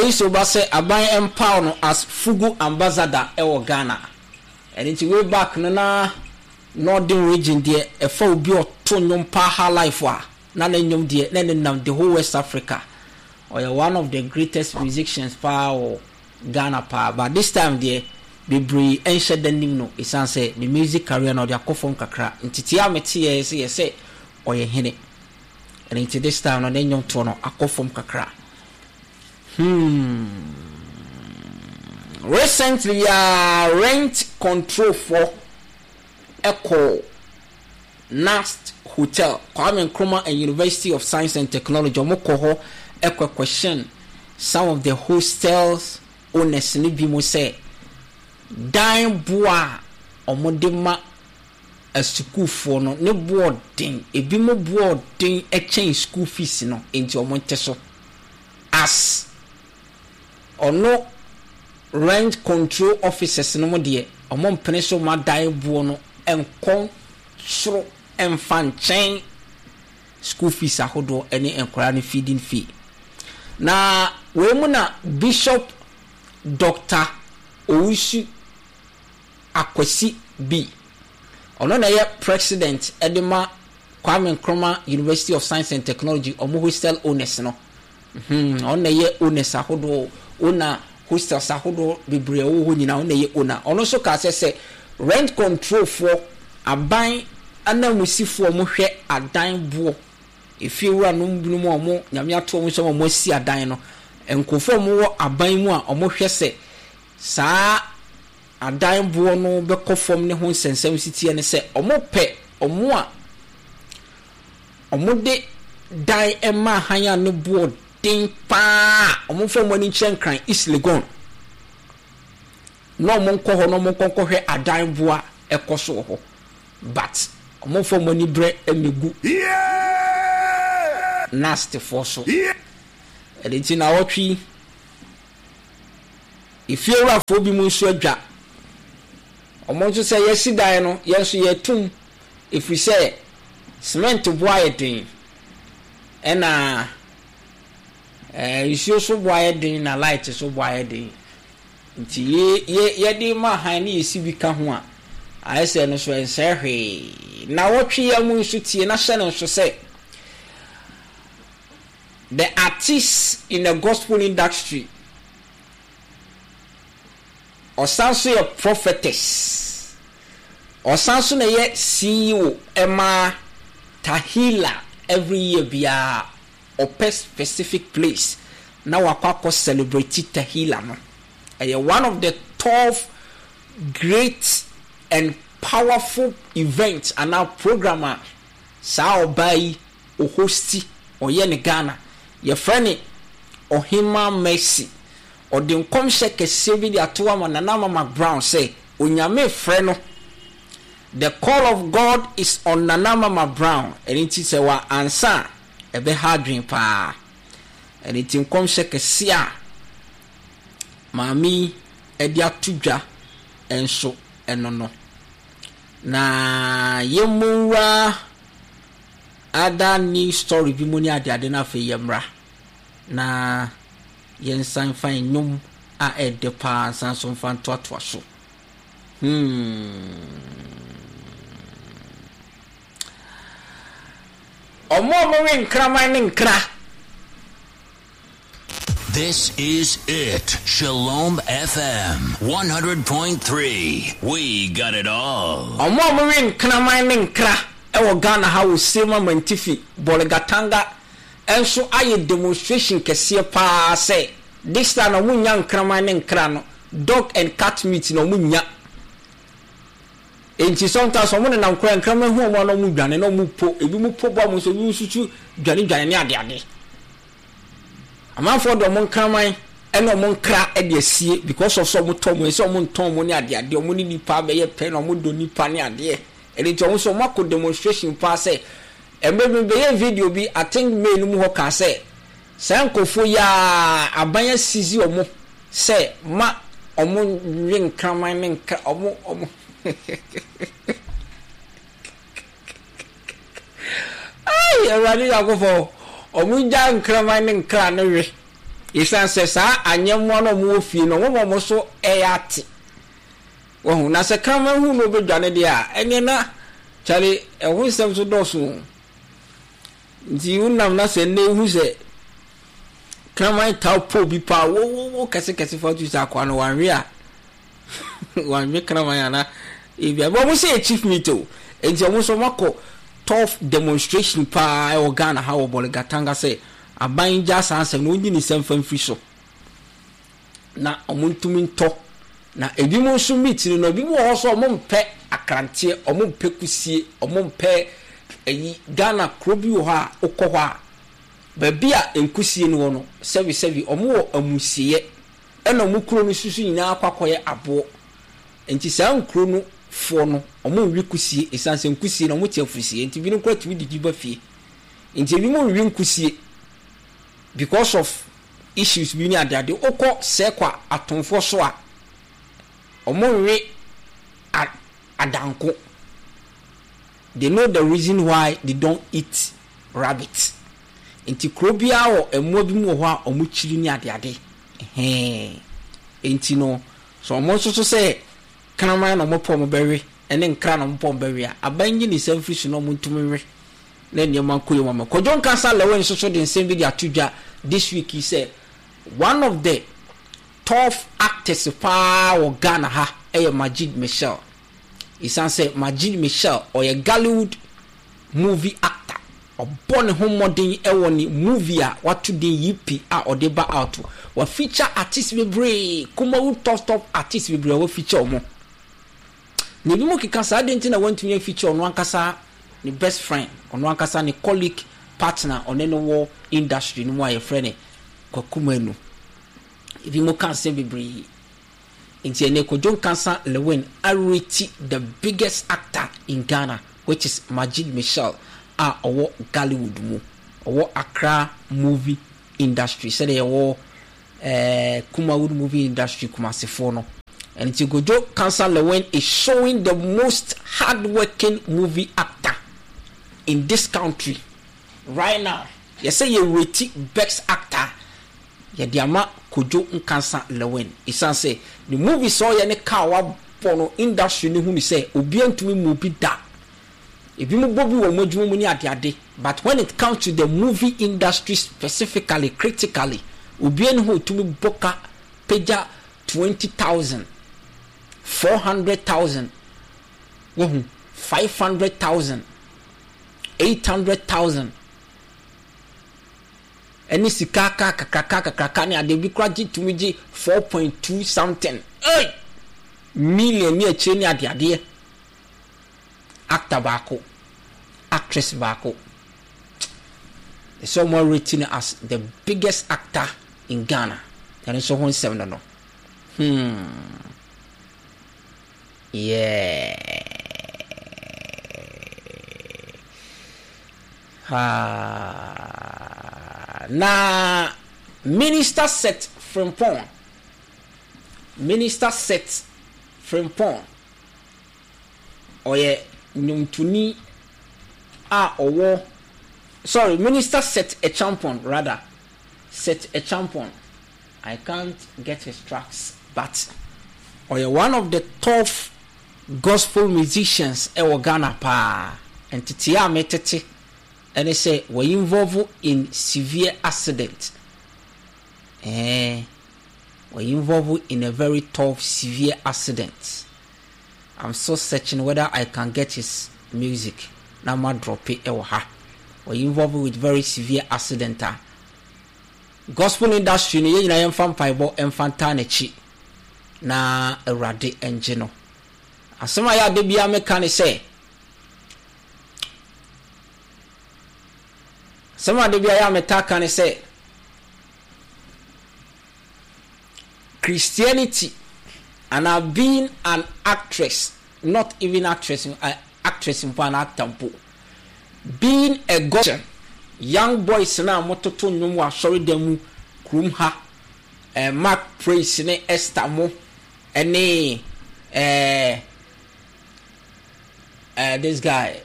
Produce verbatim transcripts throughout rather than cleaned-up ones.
Calypso ba sɛ aban empower no as Fugu ambassador ɛwɔ Ghana. Ɛno nti way back no, na Northern Region deɛ, ɛfa obi ɔto nnwom pa high life a, na ne nnwom deɛ na ne nam the whole West Africa. Ɔyɛ one of the greatest musicians paa wɔ Ghana paa, but this time deɛ, bebree ɛnhyɛ da nim no, ɛsiane sɛ ne music career no ɔde akɔ fam kakra. Nti a meteɛ sɛ yɛ sɛ ɔyɛ hene. Ɛno nti this time no, ne nnwom toɔ no akɔ fam kakra. hmm recently uh, rent control for ɛkɔ KNUST Hotel, Kwame Nkrumah and University of Science and Technology. Ɔmo kɔ hɔ ɛkɔ question some of the hostels owners ne bi mo sɛ dan boa a ɔmo de ma asukuufoɔ no ne boɔ den, ebi mo boɔ den ɛkyɛn school fees no, nti ɔmo nte so. As ɔno rent control officers no mo deɛ, ɔmo mpene so ma dan boɔ no nkɔ soro mfa nkyɛn school fees ahodoɔ ne nkwadaa no feeding fee. Na wei mu na Bishop Doctor Owusu Akwasi B, ɔno na ɛyɛ president de ma Kwame Nkrumah University of Science and Technology ɔmo hostel owners no. hmm ɔno na ɛyɛ owners ahodoɔ, owner hostels ahodoɔ bebree ɛwɔ hɔ nyinaa, ɔno na ɛyɛ owner. Ɔno nso kaa sɛ sɛ rent control foɔ, aban anamusifoɔ, ɔmo hwɛ adan boɔ, efie wura nom binom a ɔmo Nyame ato ɔmo nsɛm a ɔmo asi adan no, nkurɔfoɔ a ɔmo wɔ aban mu a ɔmo hwɛ sɛ saa adan boɔ no bɛkɔ fam ne ho nsɛnsɛm si teɛ ne sɛ ɔmo pɛ ɔmo a ɔmo de dan ɛma han a ne boɔ den paa, ɔmo nfa ɔmo ani nkyerɛ Nkran, East Legon, na ɔmo nkɔ hɔ na ɔmo nkɔ nkɔhwɛ adan boɔ a ɛkɔ so wɔ hɔ, but ɔmo nfa ɔmo ani brɛ ɛmɛgu KNUSTfoɔ so. Ɛde nti na wɔtwe efiewurafoɔ bi mu nso adwa ɔmo nso sɛ yɛsi dan no, yɛn nso yɛtum, efiri sɛ cement boɔ ayɛ den, ɛna ɛɛ nsuo so boɔ ayɛ den, na light so boɔ ayɛ den. Nti yɛ yɛ yɛde ma han ne yɛsi bi ka ho a, ayɛ sɛ no so ɛnsɛ hwee. Na wɔtwe yɛn mu nso tie na hyɛ no nso sɛ the artist in the gospel industry, ɔsan so yɛ prophetess, ɔsan so na yɛ C E O ɛma Tehillah. Every year biara ɔpɛ specific place na wakɔ akɔ celebrate Tehillah no. Ɛyɛ one of the top great and powerful event anaa program a saa ɔbaa yi ɔhosti, ɔyɛ ne Ghana. Yɛfrɛ ne Ɔhema Mercy. Ɔde nkɔmhyɛ kɛseɛ bi de ato ama Nana Mama Brown sɛ Onyame frɛ no. The call of God is on Nana Mama Brown. Ɛno nti sɛ wa ansa a, ɛbɛha adwene paa. Ɛno nti nkɔmhyɛ kɛseɛ a maame yi de ato dwa nso ɛno no. Na yɛmmɔwura other news story bi mu ne adeade no. Afei yɛmmra na yɛnsan fa nnwom a ɛɛdɛ paa nsan so mfa ntoatoa so. hmm. Ɔmo a ɔmo nkraman ne nkra. This is it. Shalom F M one hundred point three. We got it all. Ɔmo a ɔmo we nkraman ne nkra ɛwɔ Ghana ha, wɔ Sirima Mantifi, Bolgatanga ɛnso ayɛ demonstration kɛseɛ paa sɛ this time na ɔmo nya nkraman ne nkra no, dog and cat meat na ɔmo nya. Nti sometimes ɔmo nenam kora, nkraman hu ɔmo a, na ɔmo dwane na ɔmo po, ebi mo po bɔ ɔmo nso, ebi mo nso dwane dwane ne adeade. Amanfoɔ de ɔmo nkraman ɛna ɔmo nkra ɛde asie because of sɛ ɔmo tɔ ɔmo sɛ ɔmo ntɔn ɔmo ne adeade, ɔmo ne nipa bɛyɛ pɛ na ɔmo dɔ nipa ne adeɛ. Ɛde nti ɔmo nso ɔmo akɔ demonstration paa sɛ ɛmɛ bi bɛyɛ video bi, I think May no mu hɔ, kaa sɛ saa nkurɔfoɔ yi a aban asisi ɔmo sɛ ma ɔmo nwe nkraman ne nkra ɔmo ɔmo ayi Awurade Yakofo, ɔmo gya nkraman ne nkra no we. Ɛsiane sɛ saa anyɛmmoa no a wɔwɔ fie no, wɔma wɔn so yɛ ate. Wahu? Na sɛ kraman hu na ɔbɛdwane deɛ a, ɛneɛ na kyale ɛho nsɛm nso dɔɔso o. Nti wonam na sɛ nnɛ wohu sɛ kraman taa po bi paa, wo wo wo kɛse kɛse fa tu sɛ akoa no wanwe a, wanwe kraman ana ebia. Wɔn sɛ yɛ chief meat o. Nti wɔn nso wɔakɔ tough demonstration paa ɛwɔ Ghana ha wɔ Bolgatanga sɛ aban gya saa nsɛm no, wɔnyi ne nsɛm fa mfiri so na wɔn ntumi ntɔ. Na ebinom nso meat no no, ebinom wɔ hɔ so wɔn mpɛ akranteɛ, wɔn mpɛ kusie, wɔn mpɛ ɛyi. Ghana kuro bi wɔ hɔ a wokɔ hɔ a, baabi a nkusie no wɔ no, sɛbi sɛbi wɔn wɔ amusieɛ, ɛna wɔn kuro no soso nyinaa akɔ akɔyɛ aboɔ. Nti saa nkuro no foɔ no, wɔn nwi kusie, esan sɛ nkusie no wɔn te afusie, nti binom koraa tumi didi ba fie. Nti ebinom nwi nkusie because of issues bi ne adeade. Wokɔ Sɛkwa atomfoɔ so a, wɔn nwe adanko. They know the reason why they don't eat rabbit. Nti kuro biara wɔ mmoa bi mu wɔ hɔ a wɔn kyiri ne adeade. Ɛhɛn. Nti no, so wɔn nso so sɛ kraman na wɔn pɛ wɔn bɛwe, ɛne nkra na wɔn pɛ wɔn bɛwe a, aban nyi ne nsa mfiri so na wɔn ntumi nwe na nneɛma nkɔ yie wɔn. Kwadwo Nkansah Lilwin nso so de nsɛm bi de ato dwa this week yi sɛ one of the top actors paa wɔ Ghana ha ɛyɛ Majid Michel. Ɛsiane sɛ Majid Michel ɔyɛ Gollywood movie actor, ɔbɔ ne ho mmɔden ɛwɔ ne movie a wato din Yipi a ɔde ba out. Wa feature artist bebree, Kumawu top top artist bebree a wa feature wɔn. Na ebi mu keka saa de nti na wɔntumi afeature ɔno ankasa ne best friend, ɔno ankasa ne colleague partner, ɔne no wɔ industry no mu a yɛfrɛ ne Kwaku Manu. Ebi mu ka asɛm bebree. Nti ɛnɛ Kwadwo Nkansah Lilwin arate the biggest actor in Ghana, which is Majid Michel a ɔwɔ Gollywood mu, ɔwɔ Accra movie industry, sɛdeɛ yɛwɔ ɛɛ Kumawood movie industry Kumasefoɔ no. Nti Kwadwo Nkansah Lilwin is showing the most hardworking movie actor in this country right now. Yɛsɛ yɛ rate best actor, yɛde ama Kwadwo Nkansah Lilwin. Ɛsiane sɛ ne movie sɛ ɔyɛ ne car wabɔ no industry no hu ne sɛ obiara ntumi mu bi da. Ebi mu bɔ bi wɔ wɔn adwuma mu ne adeade, but when it comes to the movie industry specifically, critically, obiara ne ho otumi bɔ ka pagya twenty thousand, four hundred thousand, wahu five hundred thousand, eight hundred thousand, ɛne sika ka kakraka kakraka ne ade bi kora gye tumi gye four point two something hey! million ne akyire ne adeadeɛ. Actor baako, actress baako, ɛsɛ ɔmo rating as the biggest actor in Ghana. Ɛno nso ho nsɛm no no hmm yeah ha. Na Minister Seth Frimpong, Minister Seth Frimpong ɔyɛ nnwomtoni a ɔwɔ, sorry, Minister Seth Acheampong rather, Seth Acheampong. I can't get his tracks, but ɔyɛ one of the top gospel musicians ɛwɔ Ghana paa. Nteteɛ a metete ɛne sɛ wɔ involve in severe accident. Ɛɛ wɔ involve in a very tough severe accident. I'm still searching whether I can get his music na ma drop it ɛwɔ ha. Wɔ involve with very severe accident a gospel industry no yɛn nyinaa yɛmfa mpaebɔ ɛmfa ntaa n'akyi na Awurade ngye no. Asɛm a yɛ ade biara meka ne sɛ, asɛm a ade biara yɛ a meta ka ne sɛ, Christianity and being an actress, not even actress, uh, actress mpo an actor mpo, being a god, young boys na mototo nnwom wɔ asɔredan mu kurom ha, eh, Mark Praise ne Esther mo ɛne eh, eh, this guy,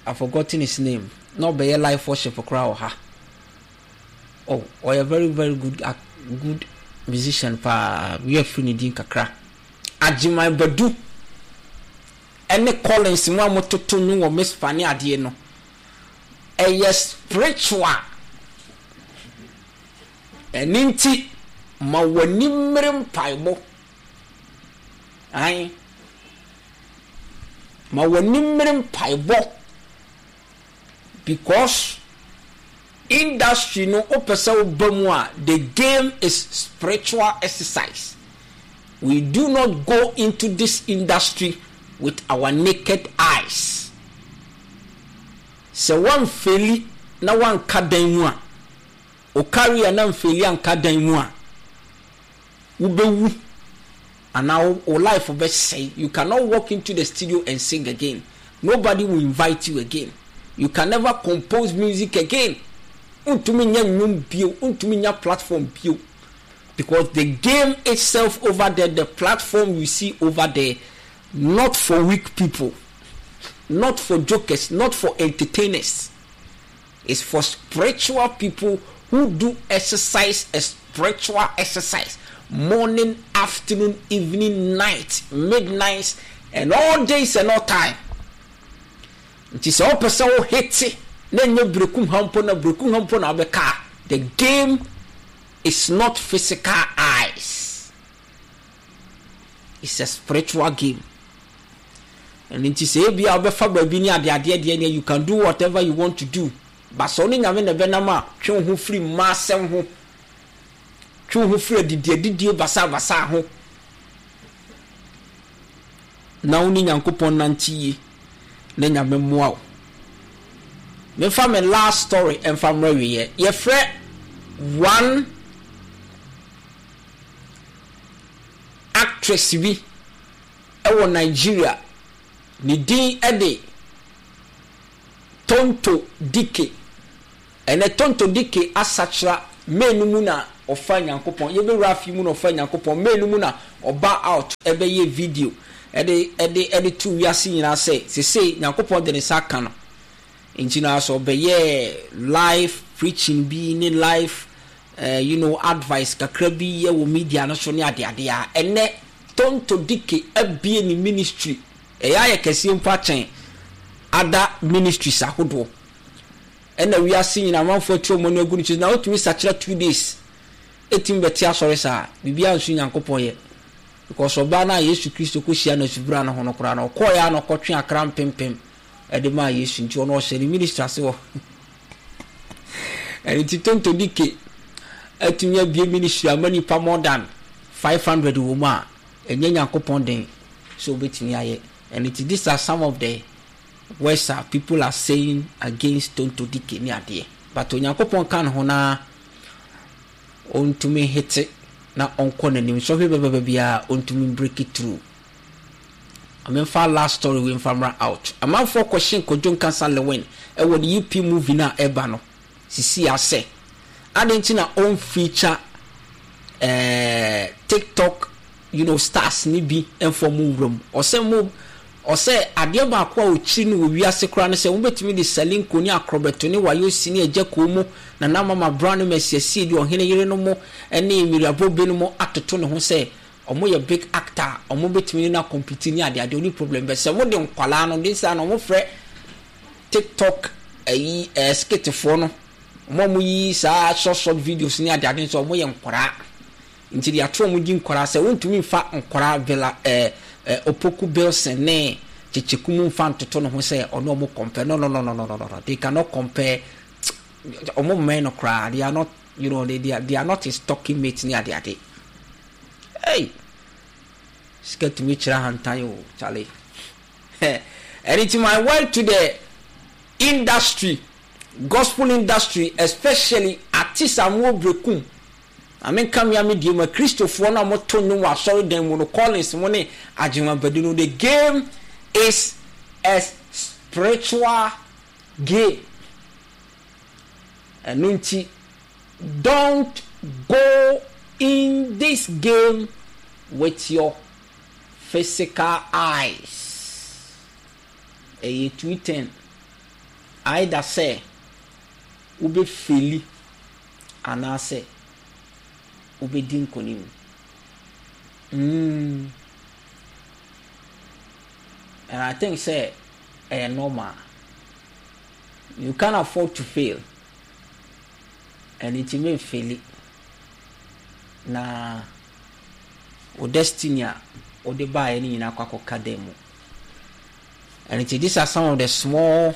I forgotten his name, na ɔbɛyɛ life worship koraa wɔ ha. Oh, ɔyɛ very very good Good musician paa, wi afiri ne din kakra. Agyeman Badu ɛne Collins mu a mototo nnwom wɔ Mispa ne adeɛ no, ɛyɛ spiritual. Ɛne nti ma w'ani mmere mpaebɔ. Ae, ma w'ani mmere mpaebɔ, because industry no, wopɛ sɛ woba mu a, the game is spiritual exercise. We do not go into this industry with our naked eyes. Sɛ woamfail na woanka dan mu a, o career na mfail anka dan mu a, wobɛwu anaa wo life bɛsɛe. You cannot walk into the studio and sing again. Nobody will invite you again. You can never compose music again. Ntumi nya nnwom bio, ntumi nya platform bio, because the game itself over there, the platform you see over there, not for weak people, not for jokers, not for entertainers. It's for spiritual people who do exercise, a spiritual exercise, morning, afternoon, evening, night, midnight and all days and all time. Nti sɛ wopɛ sɛ wo hit na nyɛ Berekum ha mpo na Berekum ha mpo na wobɛka, the game is not physical eyes, it's a spiritual game. Ɛno nti sɛ ebi a wobɛfa baabi ne adeadeɛ deɛ deɛ, you can do whatever you want to do, but sɛ wo ne Nyame na ɛbɛnam a, twe wo ho firi mmaa asɛm ho, twe wo ho firi adidi adidie basabasa ho, na wo ne Nyankopɔn nante yie na Nyame mmoa wo. Memfa me last story ɛmfa mmerɛ wieɛ. Yɛfrɛ one actress bi ɛwɔ Nigeria, ne din ɛde Tonto Dike. Ɛnɛ Tonto Dike asakyera. May no mu na ɔfa Nyankopɔn, yɛbɛwura afi mu na ɔfa Nyankopɔn. May no mu na ɔba out ɛbɛyɛ video ɛde ɛde ɛde to wiase nyinaa sɛ sese Nyankopɔn de ne nsa aka no. Nti na sɛ ɔbɛyɛ live preaching bi ne live uh, you know advice kakra bi yɛ wɔ media no so ne adeade a, ɛnɛ Tonto Dike abie ne ministry, ɛyɛ ayɛ kɛseɛ mpo akyɛn other ministries ahodoɔ. Ɛna wiase nyinaa amanfoɔ atu wɔn ani agu ne so na wotumi sakyera two days, ɛtumi bɛte asɔre saa, biribiara nso Nyankopɔn yɛ, because ɔbaa no a Yesu Kristo kɔhyia no asubura no ho no koraa no, ɔkɔɔeɛ a na ɔkɔtwe akra mpempem ɛde maa Yesu. Nti ɔno ɔhyɛ ne ministry ase wɔ ɛno. Nti Tonto Dike atumi abie ministry ama nipa more than five hundred wɔ mu a, ɛnyɛ Nyankopɔn den sɛ obɛtumi ayɛ. Ɛno nti these are some of the words a people are saying against Tonto Dike ne adeɛ, but Onyankopɔn ka ne ho na ɔntumi hit na ɔnkɔ n'anim. Sɔhwɛ bɛbɛbɛ biara, ɔntumi break it through. Amemfa last story wei mfa mmra out. Amanfoɔ kɔhyɛ Kwadwo Nkansa Lilwin ɛwɔ ne U P movie no a ɛba no sisi asɛ ade nti na ɔmfeature ɛɛ TikTok you know stars ne bi mfa mu wura mu. Ɔsɛ mo, ɔsɛ adeɛ baako a ɔkyiri no wɔ wiase koraa no sɛ wobɛtumi de Salinko ne Akorɔbɛto ne Wayosi ne Agya Koo mu, Nana Mama Brown ne Mɛsiasie de ɔhene yere no mo ne Miriabo bi no mo atoto ne ho sɛ ɔmo yɛ big actor a ɔmo bɛtumi ne no acompete ne adeade, ɔne problem bɛ sɛ mo de nkwalaa no de saa na ɔmo frɛ TikTok ɛyi ɛɛ skitfoɔ no, ɔmo a ɔmo yi saa short short videos ne adeade nso, ɔmo yɛ nkwaraa. Nti de ato ɔmo di nkwaraa sɛ wontumi nfa nkwaraa Villa ɛɛ ɛɛ Opoku Bilson ne Kyekyeku mu nfa ntoto ne ho sɛ ɔno ɔmo compare. No, no, no, no, no, no, no, they cannot compare. Ɔmo mmɛn no koraa. They are not you know they, they, are, they are not his talking mates ne adeade. Hey, sika tumi kyerɛ ahantan o, Charlie. Ɛne ti my word to the industry, gospel industry, especially artists a mo Brekum, amenka mmea me die ma Kristofoɔ no a moto nnwom wɔ asɔredan mu no, Collins mo ne Agyemabadu no, the game is a spiritual game. Ɛno nti don't go in this game with your physical eyes. Ɛyɛ two ten, either sɛ wobɛfail anaasɛ Wobɛdi nkonim. Mm. And I think sɛ ɛyɛ normal. You can't afford to fail. And nti memfail na wo destiny a wode baeɛ no nyinaa kɔ akɔka dan mu. And nti these are some of the small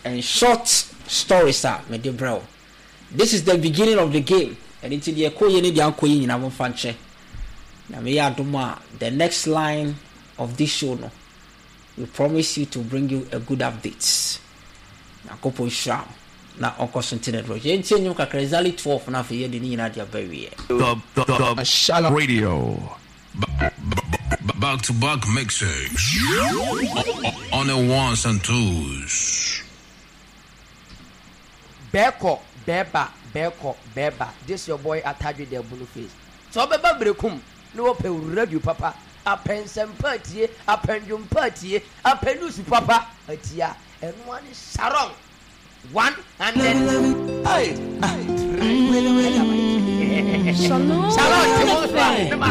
and short stories a mede brɛ wo. This is the beginning of the game. And nti deɛ ɛkɔ yie ne deɛ ankɔ yie nyinaa, momfa nkyɛ na meyɛ adom a, the next line of this show no, we promise you to bring you a good update. Nyankopɔn hyira wo na ɔnkɔ so nti ne dorɔ. Yɛntie nnwom kakra exactly twelve na afei yɛde ne nyinaa de aba wieɛ. The, the, the Shalom Radio. Back to back mixes. On the ones and twos. Bɛɛkɔ bɛɛba, bɛɛkɔ bɛɛba. This your boy Atadwe the Bunu Face. Sɛ ɔbɛba Berekum na wɔpɛ radio papa, apɛ nsɛmpa atie, apɛ ndwompa atie, apɛ news papa atie a, ɛnoa ne Sharon one hundred Shalom Sharon te mo so a F M. ne maa